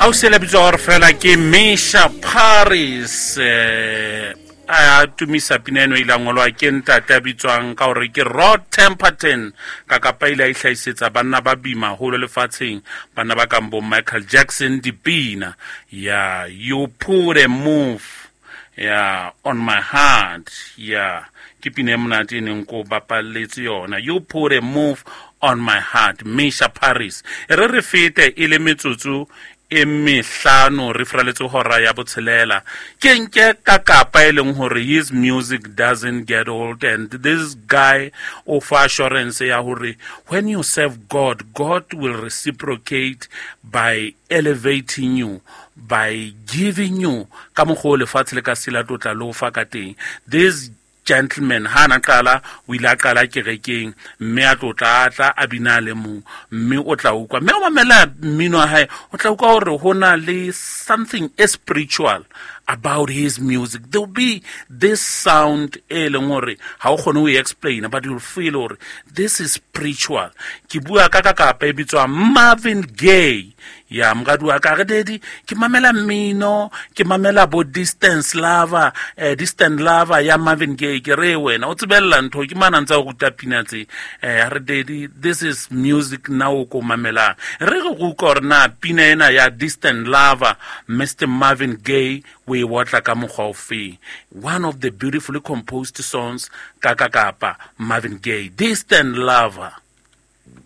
O se le bitsa gore fela ke Mesha Paris, a tumisa pina eno e ile a ngolwa ke ntate a bitswang ka gore ke Rod Temperton. Ka kapa ile a ihlahisetsa banna ba bima holo lefatsheng, banna ba kang bo Michael Jackson dipina ya You Put a Move ya on My Heart. Ya ke pina e monate e neng ko bapalletse yona, You Put a Move on My Heart, Mesha Paris. E re re fete e le metsotso e mehlano re furaletse hora ya botshelela. Ke nke ka kapa e leng hore his music doesn't get old, and this guy o fa assurance ya hore when you serve God, God will reciprocate by elevating you, by giving you ka mokgwa o lefatshe le ka sela tlotla le o fa ka teng. This gentleman ha na qala, o ile a qala kerekeng, mme a tlotla a tla a bina le mong, mme o tla utlwa, mme o mamela mmino wa hae, o tla utlwa hore ho na le something e spiritual about his music. There will be this sound e leng hore ha o kgone ho e explain, but you'll feel hore this is spiritual. Ke bua ka kapa e bitswa Marvin Gaye. Ya moradi wa ka re, "Daddy, ke mamela mmino, ke mamela bo Distance Lover, Distant Lover ya Marvin Gaye." Ke re, "Wena o tsebella ntho ke mana ntse a ruta pina tse." Re, "Daddy, this is music now o ko mamelang." Re re utlwa hore na pina ena ya Distant Lover, Mr Marvin Gaye, o e otla ka mokgwa o feng. One of the beautifully composed songs ka kapa Marvin Gaye, Distant Lover.